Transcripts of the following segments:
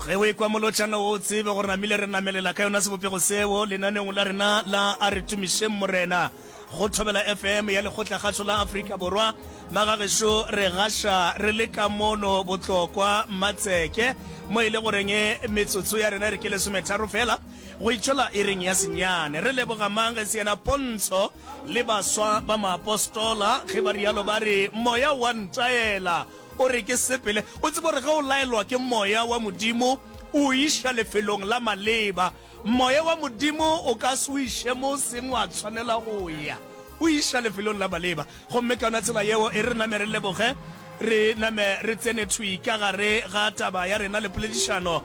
Ge o ekwa molotšana wo o tsebe gore namile re namelela ka yona sebopego seo lenaneong la rena la A Re Tumišeng Morena go Thobela FM ya Lekgotlakgašo la Afrika Borwa. Magagešo re gaša re le ka mono Botlokwa Matseke mo e le goreng metsotso ya rena e re ke lesometharo fela go itšwela iring ya senyane. Re leboga mang ge se yena Pontsho le baswa ba maapostola ge ba rialo ba re moya wa ntaela O re ke sepele. O tsebe gore ge o laelwa ke Moya wa Modimo, o o iša lefelong la maleba. Moya wa Modimo o ka se o iše mo o seng wa tshwanela go ya. O iša lefelong la maleba. Gomme ka yona tsela yeo, e re name re leboge, re name re tsene thwi ka gare ga taba ya rena le poledišano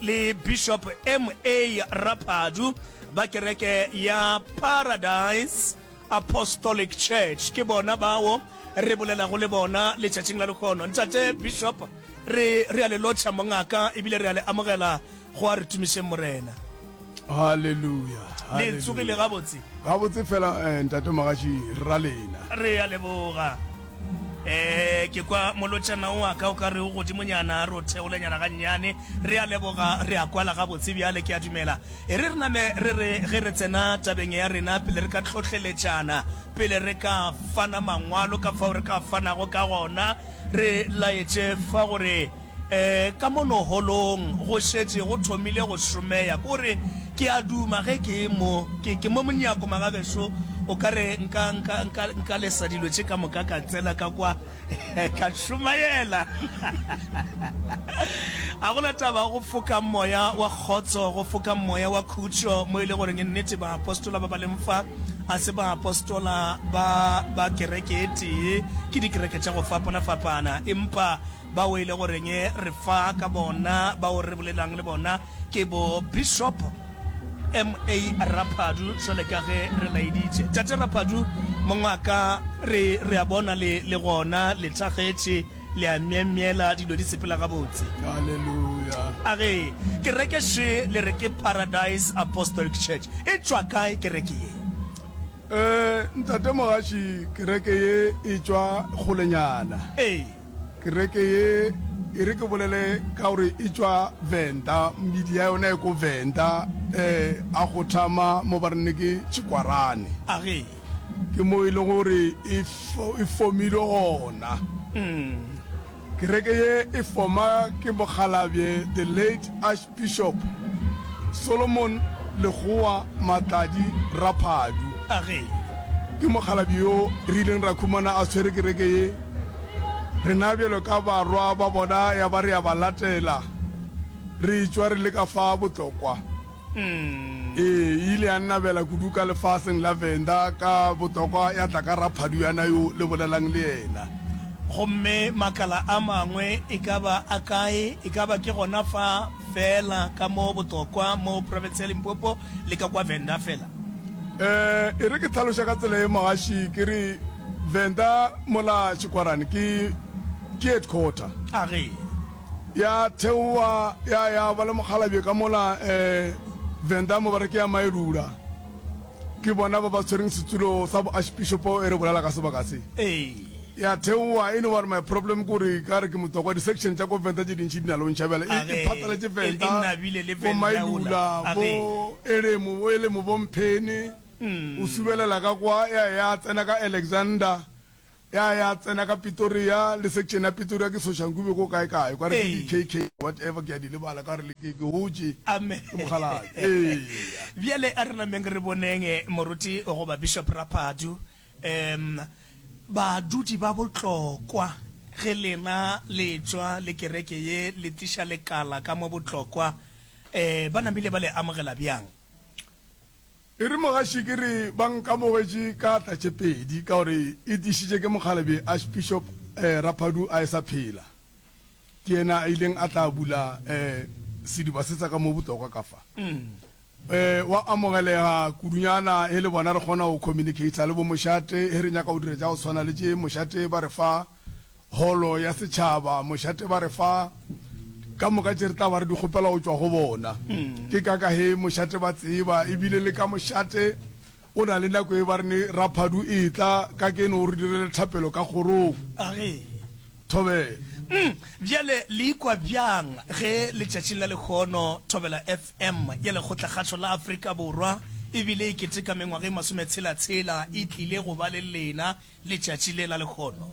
le Bishop MA. Raphadu ba kereke ya Paradise Apostolic Church. Ke bona bao re bolelago le bona letšatšing la lehono. Ntate Bishop, re, re a le lotšha, mongaka, ebile re a le amogela go a re tumišeng Morena. Haleluya. Le tsogile gabotse? Gabotse fela, eh, ntate Mogaši, ra lena. Re a leboga. Eh, ke kwa molotšana o wa ka o ka re o godimonyana, re o theolenyana gannyane. Re a leboga, re a kwala gabotse bjale, ke a dumela. E re re name re re ge re tsena tabeng ya rena, pele re ka hlohleletšana, pele re ka fana mangwalo ka fao re ka fanago ka gona, re laetše fa gore um ka mono holong go šetše go thomile go šomeya. Ke gore ke a duma ge ke mo, ke, ke mo monyako magagešo, o ka re nka, nka, nka, nka lesa dilo tše ka moka ka tsena ka kwa. Ka šomaela. A go na taba go foka moya wa kgotso, go foka moya wa khutšo, mo e le goreng nnete baapostola ba ba leng fa a se baapostola ba ba kereke e tee, ke dikereke tša go fapana-fapana, empa bao e le goreng re fa ka bona, bao re bolelang le bona ke bo Bishop MA Raphadu, jwale ka ge re laeditše. Tate Raphadu, mongwaka, re, re a bona le, le gona, le thakgetše, le a myemyela, dilo di sepela gabotse. Haleluya. A ge, kereke še le re ke Paradise Apostolic Church. E tšwa kae kereke ye? Eh, ntate Mogaši, kereke ye e tšwa kgolenyana. Ee. Kereke ye, e re ke bolele ka gore e tšwa Venda, mebidi ya yona e ko Venda, eh, a go thama mo ba rene ke Tšikwarane. A ge. Ke mo e leng gore e, e fomilwe gona. Kereke ye e foma ke mokgalabje the late Archbishop Solomon Lekgowa Matladi Raphadu. A ge. Ke mokgalabje yo re ileng ra khumana a tshwere kereke ye. Rena bjalo ka barwa ba bona ya ba re a ba latela, re etšwa re le ka fa Botlokwa. Ee, e ile ya nnabela kudu ka lefaseng la Venda ka Botlokwa ya tla ka Raphadu yana yo le bolelang le yena. Gomme makala a mangwe e ka ba a kae? E ka ba ke gona fa feela ka mo Botlokwa, mo profense ya Limpopo le ka kwa Venda feela? Ee, e re ke hlaloše ka tsela ye mogaši, ke re Venda mola Tšhikwarane ke ke headquarter. A ge. Ya theoa ya ya ba le mokgalabje ka mola eh, Venda mo ba re ke ya Maelula. Ke bona ba ba tshwereng setulo sa bo archbishopo e re bolela ka sebaka se. Ee. Ya theoa e no ba re my problem ke gore ka re ke motswako wa di-section tša ko Venda tše dintši di na le o ntšha bjale A e ge. e phatlaletše E, e Venda, nabile le bo Venda ola. Mailula, A ge. bo Elemo, bo Elemo, bo Mphene. O subelela ka kwa, ya ya tsena ka Alexander, ya ya tsena ka Pretoria, le section ya Pretoria ke Soshanguve ko kae kae, kwa re ke di KK whatever ke a di lebala ka gore le ke ke hotše Amen. ke mokgalabje. Eya. Bjale a re nameng re boneng moruti goba Bishop Raphadu, um badudi ba Botlokwa ge lena le tšwa le kereke ye le tliša lekala ka mo Botlokwa, um ba namile ba le amogela bjang? E re mogaši ke re ba nkamogetše ka atla tše pedi ka gore e tiišitše ke mokgalabje Archbishop Raphadu a e sa phela. Ke yena a ileng a tla bula sediba se sa ka mo Botlokwa ka fa. Wa amogelega kudunyana he le bona re kgona go communicator le bo mošate he re nyaka go dira tša go tshwana le tše mošate ba re fa Holo ya Setšhaba, mošate ba re fa ka moka tše re tla ba re di kgopela go tšwa go bona. Ke ka ka he mošate ba tseba, ebile le ka mošate o na le nako e ba re ne Raphadu etla ka keno o re direle thapelo ka kgorong. A ge. Thobela. Umm, bjale le ikwa bjang ge letšatšing la lehono Thobela FM ya Lekgotlakgašo la Afrika Borwa e bile e keteka mengwaga e masometshela-tshela e tlile go ba le lena letšatši le la lehono?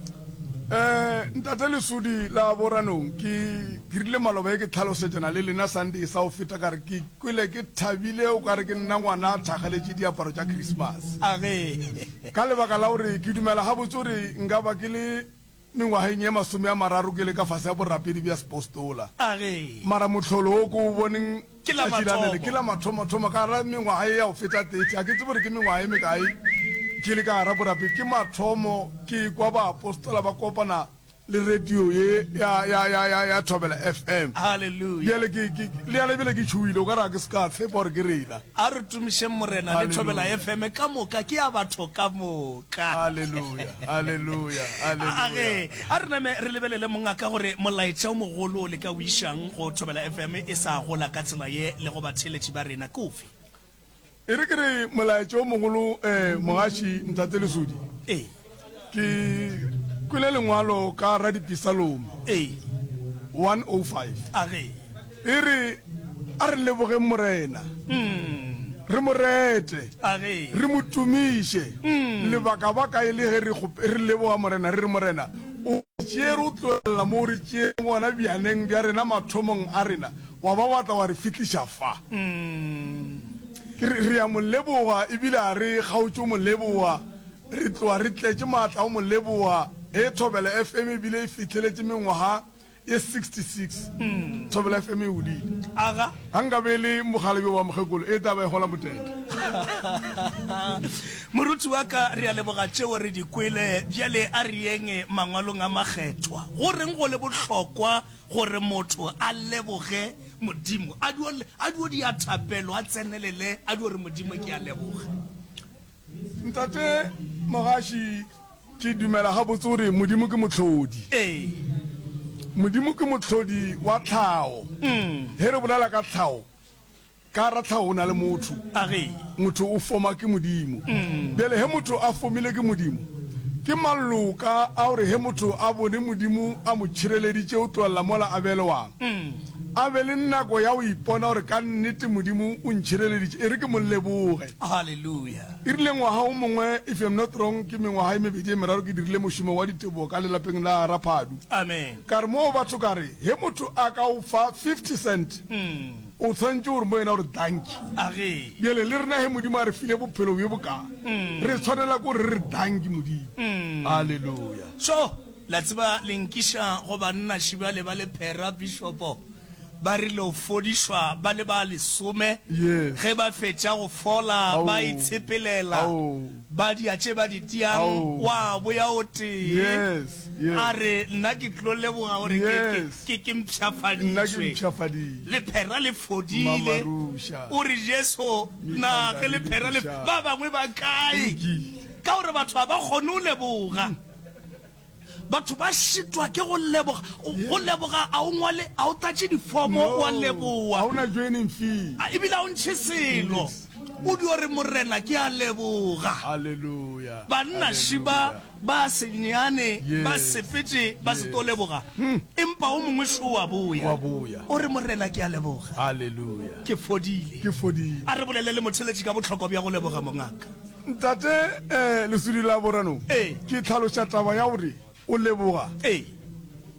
Eh, Ntate Lesodi la Boranong, ke, ke rile maloba e ke tlhalosetšana le lena Sunday sa go feta ka re ke kwele ke thabile o ka re ke nna ngwana a thakgaletše diaparo tša Christmas. Age. Ka lebaka la gore ke dumela gabotse gore nka ba ke le Mengwageng ye masomeamararo ke le ka fase ga borapedi bja sepostola. A re. Mara mohlolo wo ke o boneng Ke la tšatši la nele, mathomo. ke la mathomothomo ka gara mengwaga ye ya go feta 30. Ga ke tsebe gore ke mengwaga ye mekae ke le ka gara borapedi. Ke mathomo ke ekwa baapostola ba kopana le radio ye ya, ya, ya, ya, ya Thobela FM. Haleluya. Bjale ke, ke, le yana bjale ke tšhogile, o ka re ga ke se ka tshepa gore ke rena. A re tumišeng Morena le Thobela FM ka moka, ke ya batho ka moka. Haleluya, haleluya, haleluya. A ge, a re name re lebelele mongaka gore molaetša o mogolo o le ka o išang go Thobela FM e sa gola ka tsela ye le go batheeletši ba rena ke ofe? E re ke re molaetša o mogolo, eh, mogaši Ntate Lesodi. Ee. Ke kwele lengwalo ka Radipisalome. Ee. 105. A ge. E re, A re lebogeng Morena, re mo rete, re mo tumiše. Lebakabaka e le ge re, re leboga Morena, re re, Morena, o re tšeere o tlogelela mo o re tšeereng gona bjaneng bja rena mathomong a rena, wa ba wa tla wa re fihliša fa. Ke re, re a mo leboga, ebile ga re kgaotše go mo leboga. Re tloga re tletše maatla go mo leboga ge Thobela FM ebile e fihleletše mengwaga ye 66. Thobela FM e godile. Aga. Ga nka be e le mokgalabje wa mokgekolo, e tla ba e gola motete. Moruti wa ka, re a leboga tšeo re di kwele. Bjale a re yeng Mangwalong a Makgethwa. Go reng go le bohlokwa gore motho a leboge Modimo? A dio, a dio dia thapelo, a tsenelele, a dio re, Modimo, ke a leboga. Ntate Mogaši, ke dumela gabotse gore Modimo ke mohlodi. Ee. Modimo ke mohlodi wa tlhago. Ge re bolela ka tlhago, ka gara tlhago go na le motho. A re. Motho o foma ke Modimo. Bjale ge motho a fomile ke Modimo, ke maloka a gore ge motho a bone Modimo a mo tšhireleditše o tlogelela mola a belewang. A be le nako ya go ipona gore ka nnete Modimo o ntšhireleditše, e re ke mo leboge. Haleluya. E rile ngwaga o mongwe, if I'm not wrong, ke mengwaga e mebedi e meraro ke dirile mošomo wa ditebogo ka lelapeng la Raphadu. Amen. Ka re moo batho ka re, he motho a ka o fa 50 cent, o tshwanetše gore mo yena o re dankie. Age. Bjale le rena he Modimo a re file bophelo bjo bokaa, re tshwanela ke gore re re dankie Modimo. Haleluya. So, la tseba le nkiša go banna šibale ba lephera, bishopo. Ba rile go fodišwa ba le ba lesome, Yes. ge ba fetša go fola Ao. ba itshepelela, Ao. ba dia tše ba di tiang, Ao. wa boya o tee. Yes, yes. A re, Nna ke tlo leboga gore ke, ke, Yes. ke, ke Nna ke mpshafaditšwe. mpshafaditšwe. Lephera le fodile. Mamaruša. O re, Jesu, na ge lephera le, Mekanda le ba bangwe ba kae? Lokile. Ka gore batho ga ba kgone go leboga. Batho ba šitwa ke go leboga. Go leboga a o ngwale, a o tlatše difomo wa leboga. Ga o na joining fee. A ebile a o ntšhe selo. O dio re Morena ke a leboga. Hallelujah. Banna šiba ba senyane ba sepetše ba se tlo leboga. Empa o mongwe šo wa boya. Wa boya. O re Morena ke a leboga. Hallelujah. Ke fodile. Ke fodile. A re bolele le motheletši ka bohlokwa bja go leboga mongaka. Ntate eh, Lesudi la Borano, Ee. ke tlhaloša taba ya gore o leboga. Ee.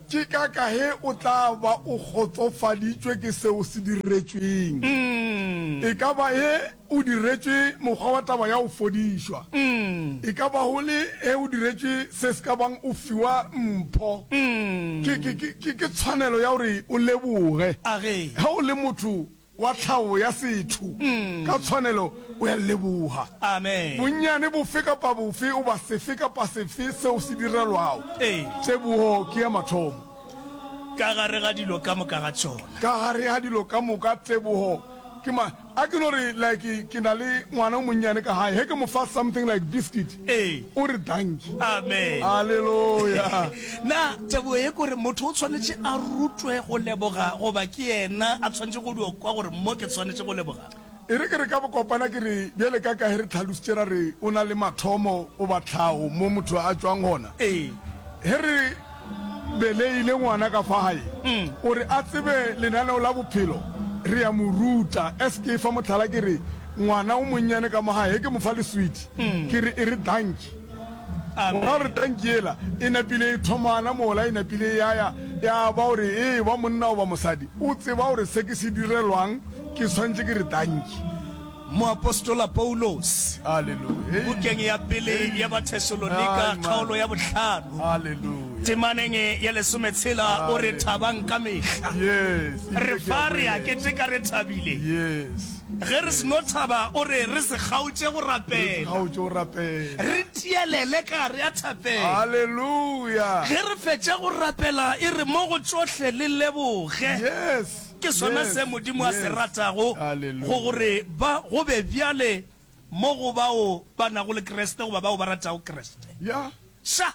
Ke ka ka ge o tla ba o kgotsofaditšwe ke seo se diretšweng. E ka ba ge o diretšwe mokgwa wa taba ya go fodišwa. E ka ba go le ge o diretšwe se se ka bang o fiwa mpho. Ke, ke, ke, ke, ke tshwanelo ya gore o leboge. A ge. Ge o le motho wa tlhago ya setho, ka tshwanelo o ya leboga. Amen. Bonnyane bofe kapa bofe goba sefe kapa sefe seo se direlwago, Ee. tebogo ke ya mathomo. Ka gare ga dilo ka moka ga tšona. Ka gare ga dilo ka moka, tebogo ke ma. A ke no re, like, ke na le ngwana o monnyane ka gae, ge ke mo fa something like biscuit, Ee. o re dankie. Amen. Haleluya. Na tebogo ye ke gore motho o tshwanetše a rutwe go leboga goba ke yena a tshwanetše go dio kwa gore mo ke tshwanetše go leboga? E re ke re ka bokopana ke re bjale ka ka ge re tlhalositše ra re o na le mathomo goba tlhago mo motho a tšwang gona. Ee. Ge re. beleile ngwana ka fa gae, gore a tsebe lenaneo la bophelo, re a mo ruta. As ke fa mohlala ke re, ngwana o monnyane ka mo gae, ge ke mo fa leswiti, ke re e re dankie. Go ra gore tanki yela e napile e thomana mola e napile e ya ya, ya ba gore e ba monna goba mosadi, o tseba gore se ke se direlwang ke swanetše ke re tanki. Moapostola Paulose, Haleluya. bukeng ya pele ya Bathesalonika, kgaolo ya bohlano, Haleluya. temaneng ya lesometshela, o re, Thabang ka mehla. Yes. Re fa re a keteka re thabile. Yes. Ge re seno thaba, o re re se kgaotše go rapela. Kgaotše go rapela. Re tielele ka gare ya thapelo. Haleluya. Ge re fetša go rapela, e re mo go tšohle le leboge. Yes. Ke sona Yes. se Modimo a se Yes. ratago, go Haleluya. gore ba go be bjale mo go bao ba nago le Kriste goba bao ba ratago Kriste. Ya. Ša!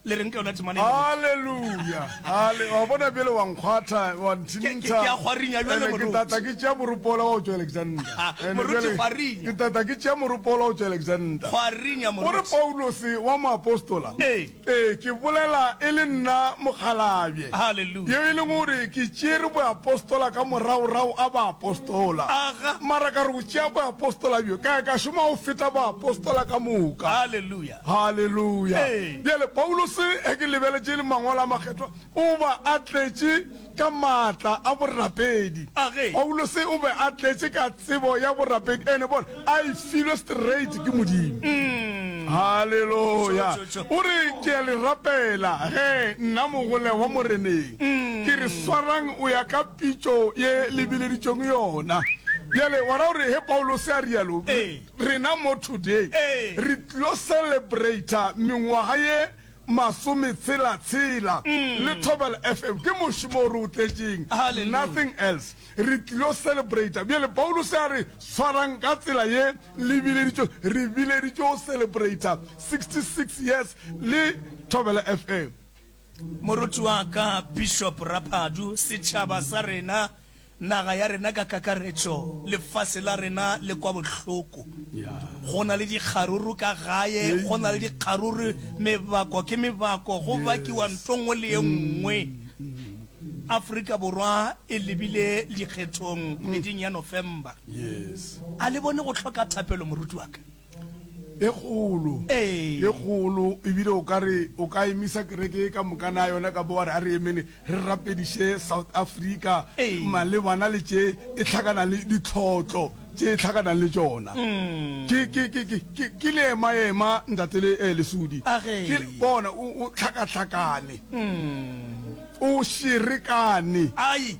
Le reng ka yona temana ye, moruti? Haleluya. Hale, wa bona bjale wa nkgwatha, wa Ke, ke, nthintha. ke a kgwarinya bjale, Ene ke moruti. tata ke tšea moropo wola wa go tšwa Alexander. Ene Moruti, bjale kgwarinya. ke tata ke tšea moropo wola wa go tšwa Alexander. Kgwarinya, O re moruti. Paulose wa moapostola, Ee. Ee, ke bolela e le nna mokgalabje, Haleluya. yo e leng gore ke tšeere boapostola ka moragorago a baapostola. Aga. Mara ka re go tšea boapostola bjo, ka ya ka šoma go feta baapostola ka moka. Haleluya. Haleluya! Ee. Bjale, Paulose, ge ke lebeletše le Mangwalo a Makgethwa, o ba a tletše ka maatla a borapedi. Age. Paulose o be a tletše ka tsebo ya borapedi, ene bona, a e filwe straight ke Modimo. Haleluya! Tšo, tšo, tšo. O re, Ke a le rapela, ge, nna mogolegwa Moreneng, ke re swarang o ya ka pitšo ye le bileditšweng yona. Bjale, wa ra gore ge Paulose a rialo, Ee. Rena mo today Ee. re tlilo celebrata mengwaga ye masometshela-tshela le Thobela FM. Ke mošomo o re o tletšeng, Hallelujah. nothing else. Re tlilo celebrata. Bjale Paulose a re swarang ka tsela ye le bileditšwe, re bileditšwe go celebrata 66 years le Thobela FM. Moruti wa ka, Bishop Raphadu, setšhaba sa rena, naga ya rena ka kakaretšo, lefase la rena le kwa bohloko. Go na le dikgaruru ka gae, go na le dikgaruru, mebako ke mebako, go bakiwa ntho nngwe le ye nngwe. Afrika Borwa e lebile dikgethong kgweding ya November. A le bone go hloka thapelo, moruti wa ka? E kgolo, Ee. e kgolo, ebile o ka re o ka emisa kereke e ka moka na yona ka bo wa re a re emene re rapediše South Africa Ee. malebana le tše e hlakana le ditlhotlo tše e hlakanang le tšona. Ke, ke, ke, ke, ke, ke leemaema ntate le, eh, Lesodi. Age. Ke, bona, o, o hlakahlakane. O šerekane. Ai.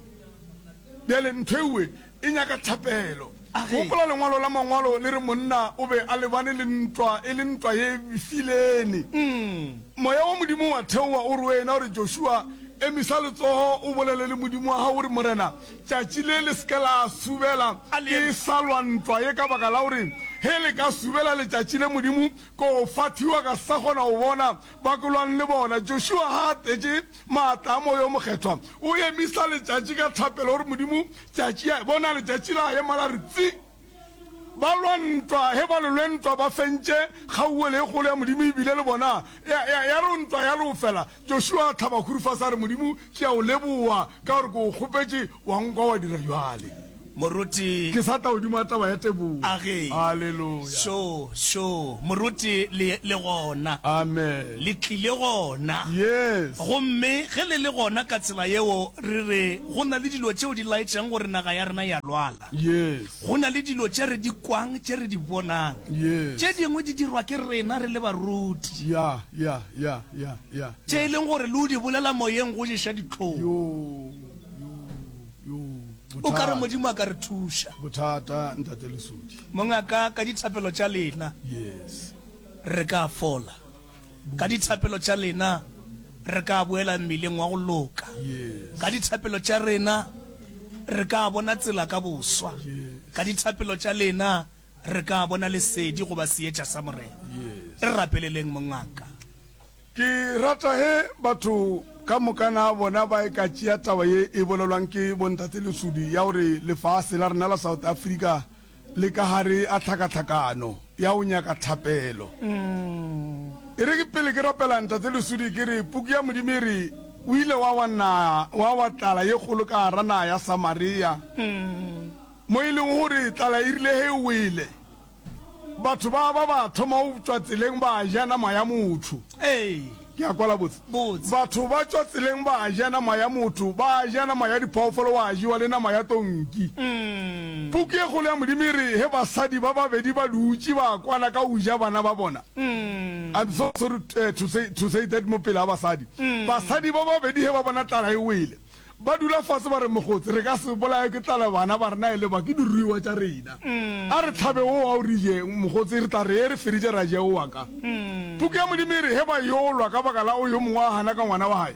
Bjale ntho ewe e nyaka thapelo. A ge. Gopola lengwalo la Mangwalo le re monna o be a lebane le ntwa, e le ntwa ye befilene. Moya wa Modimo wa theoga o re wena, o re, Joshua, emisa letsogo o bolele le Modimo wa gago, o re, Morena, tšatši le le se ke la subela A le ke eme. sa lwa ntwa ye, ka baka la gore ge le ka subela letšatši le Modimo, ko fathiwa ka sa kgona go bona ba ke lwang le bona. Joshua ga a tletše Maatla a Moya o Mokgethwa, o emisa letšatši ka thapelo, o re, Modimo, tšatši a, bona letšatši la ema la re tsi. Ba lwa ntwa, ge ba lelwe ntwa ba fentše, kgauwelo e kgolo ya Modimo e bile le bona. Ya, ya, ya re ntwa ya lofela, Joshua a hlaba khuru fase a re, Modimo, ke a o leboa ka gore ke o kgopetše, wa nkwa wa dira bjale. Moruti. Ke sa tla godimo ga taba ya tebogo. A ge. Haleluya. Šo, šo, moruti, le, le gona. Amen. Le tlile gona. Yes. Gomme ge le le gona ka tsela yeo, re re go na le dilo tšeo di laetšang gore naga ya rena e a lwala. Yes. Go na le dilo tše re di kwang, tše re di bonang. Yes. Tše dingwe di dirwa ke rena re le baruti. Ya, ya, ya, ya, ya. Tše e leng gore le o di bolela moyeng go ješa dihlong. Yo, yo, yo. O ka re Bothata. Modimo a ka re thuša. Bothata, Ntate Lesodi. Mongaka, ka dithapelo tša lena, Yes. re ka fola. Ka dithapelo tša lena, re ka boela mmileng wa go loka. Yes. Ka dithapelo tša rena, re ka bona tsela ka boswa. Yes. Ka dithapelo tša lena, re ka bona lesedi goba seetša sa Morena. Yes. Re rapeleleng, mongaka. Ke rata ge batho ka moka na bona ba e ka tšea taba ye e bolelwang ke bontate Lesodi ya gore lefase la rena la South Africa le ka gare a tlhakatlhakano ya go nyaka thapelo. E re ke pele ke rapela ntate Lesodi ke re puku ya Modimo e re. O ile wa wa na, wa wa tlala ye kgolo ka gara naga ya Samaria, mo e lego gore tlala e rile ge e wele, batho ba ba ba thoma go tšwa tseleng ba ja nama ya motho. Ee. Ke a kwala botse? Botse. Batho ba tšwa tseleng ba ja nama ya motho, ba ja nama ya diphoofolo, wa jewa le nama ya tonki. Puku ye kgolo ya Modimo e re ge basadi ba babedi ba dutše ba kwana ka go ja bana ba bona, I'm so sorry to say, to say that mo pele ga basadi. Basadi ba babedi ge ba bona tlala e wele, ba dula fase ba re, Mokgotsi, re ka se bolaye ke tlala bana ba rena e le ba, ke diruiwa tša rena. A re hlabe wo wa o re je, mokgotsi, re tla re ye re feditše ra je wo wa ka. Puku ya Modimo e re ge ba yo lwa ka baka la o yo mongwe a gana ka ngwana wa gae,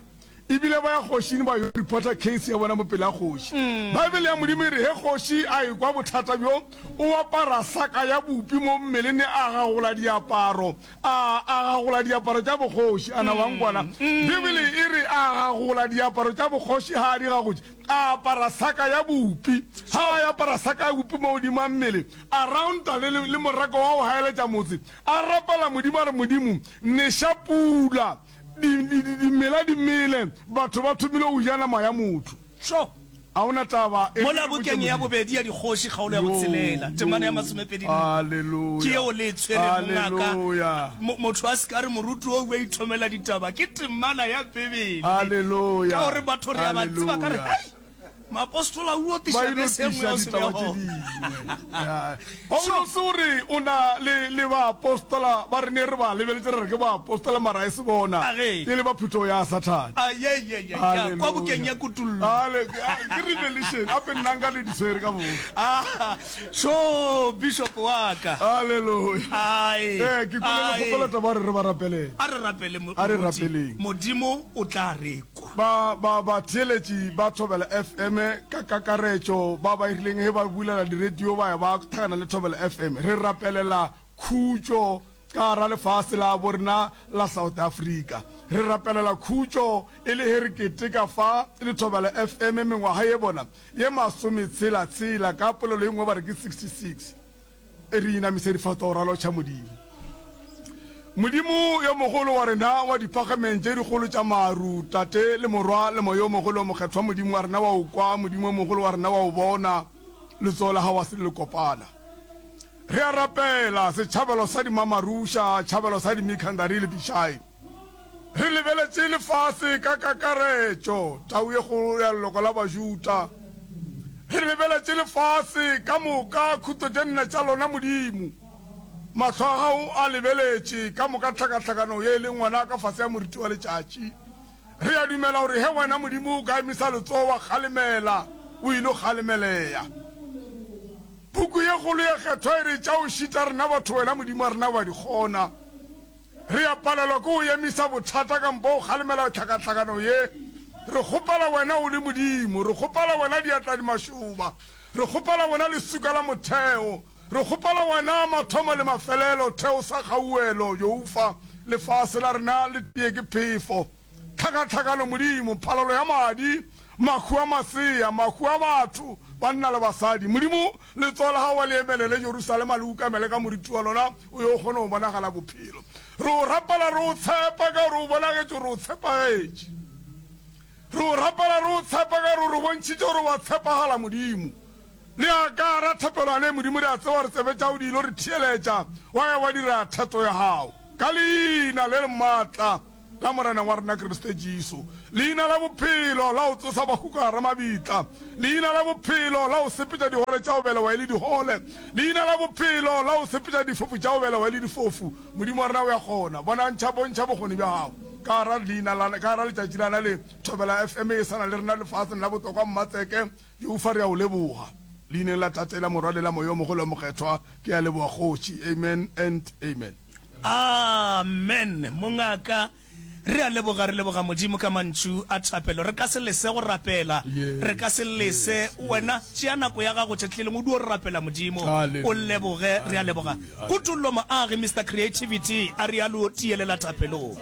E bile ba ya kgošing ba yo reporta case ya bona mo pele ga kgoši. Bible ya Modimo e re ge kgoši a ekwa bothata bjo, o apara saka ya bupi mo mmeleng a gagola diaparo, a a gagola diaparo tša bokgoši. A na wa nkwana? Bible e re a gagola diaparo tša bokgoši, ga a di gagotše, a apara saka ya bupi. Ga a apara saka ya bupi mo godimo ga mmele, a rounta le, le morako wa go gaeletša motse, a rapela Modimo a re, Modimo, neša pula. Di, di, di, dimela di mele, batho ba thomile go ja nama ya motho. Sho! A o na taba e Mola re botše bukeng ya Modimo. bobedi ya Dikgoši, kgaolo ya Yo, botshelela, temana ya yo, masomepedi nne, ke haleluya, yeo le e tshwerego ngaka. haleluya, Mo, motho a se ka re moruti wo o a ithomela ditaba, ke temana ya Bibele. haleluya, Ka gore batho re a ba tseba ka re, haleluya. Hei, Maapostola o Ba tiša ilo bese e nngwe tiša ya go se be ditaba tše gona. dingwe. Ya. Sho! Paulose o re o na le, le baapostola ba re ne re ba lebeletše re re ke baapostola mara e se bona, A ge. e le ba phuthego ya Sathane. A ye, ye, ye, ya, kwa bukeng Haleluya. ya Kutollo. Hale, a, ke Revelation, ape nna nka le di swere ka botse. Ah, sho, bishop wa ka. Haleluya. Ai, Eh, ke kwele le ai. kgopela taba gore re ba rapelele. A re rapele, mo- A re moruti. rapeleng. Modimo o tla re kwa. Ba, ba, batheeletši ba Thobela FM ka kakaretšo, ba ba rileng ge ba bulela diredio ba ya ba thakana le Thobela FM. Re rapelela khutšo ka gara lefase la bo rena la South Africa. Re rapelela khutšo e le ge re keteka fa le Thobela FM mengwaga ye bona ye masometshela tshela, ka polelo ye nngwe ba re ke 66. E re inamise difahlogo ra lotšha Modimo. Modimo yo mogolo wa rena wa diphagameng tše dikgolo tša maru, Tate le Morwa le Moya o mogolo o Mokgethwa, Modimo wa rena wa o kwa, Modimo o mogolo wa rena wa o bona, letsogo la gago a se le lekopana. Re a rapela, setšhabelo sa dimamaruša, tšhabelo sa dimikhandari le Bishai. Re lebeletše lefase ka kakaretšo, tau ye kgolo ya leloko la Bajuda. Re lebeletše lefase ka moka, khutlo tše nne tša lona, Modimo. Mahlo a gago a lebeletše ka moka tlhakatlhakano ye e leng gona ka fase ga moriti wa letšatši. Re a dumela gore ge wena, Modimo, o ka emisa letsogo wa kgalemela, o ilo kgalemeleya. Puku ye kgolo ye kgethwa e re, Tša go šita rena batho, wena Modimo wa rena o a di kgona. Re a palelwa ke go emisa bothata kampo go kgalemela tlhakatlhakano ye. Re kgopela Wena o le Modimo. Re kgopela Wena diatla di mašoba. Re kgopela Wena leswika la motheo. Re kgopela Wena mathomo le mafelelo, theo sa kgauwelo, Jehofa. Lefase la rena le tee ke phefo. Tlhakatlhakano, Modimo, phalalo ya madi, mahu a masea, mahu a batho, banna le basadi. Modimo, letsogo la gago a le emelele Jerusalema, le ukamele ka moriti wa lona, o yo kgone go bonagala bophelo. Re o rapela re o tshepa ka gore o bonagetše gore o tshepagetše. Re o rapela re o tshepa ka gore o re bontšhitše gore wa tshepagala, Modimo. Le a ka ra thapelo ale, Modimo, re a tseba gore tsebe tša gago di ilo re theeletša, wa ya wa dira thato ya gago. Ka Leina le le maatla la Morena wa rena Kriste Jesu, Leina la bophelo la go tsosa bahu ka gara mabitla, Leina la bophelo la go sepetša digole tša go belewa e le digole, Leina la bophelo la go sepetša difofu tša go belewa e le difofu. Modimo wa rena o ya kgona. Bonantšha, bontšha bokgoni bja gago ka gara leina la, ka gara letšatši la na le Thobela FM e sa na le rena lefaseng la botlokwa Mmatseke. Jehofa re a o leboga. Leineng la Tate, la Morwa le la Moya o Mogolo o Mokgethwa, ke a leboga Kgoši. Amen and amen. Amen mongaka re a leboga re leboga Modimo ka mantšu a thapelo re ka se lese go rapela re ka se lese wena tšea nako ya gago tšatši le lengwe o dio rapela Modimo o leboge re a leboga Kutollo Moagi Mister Creativity a realo tielela thapelong.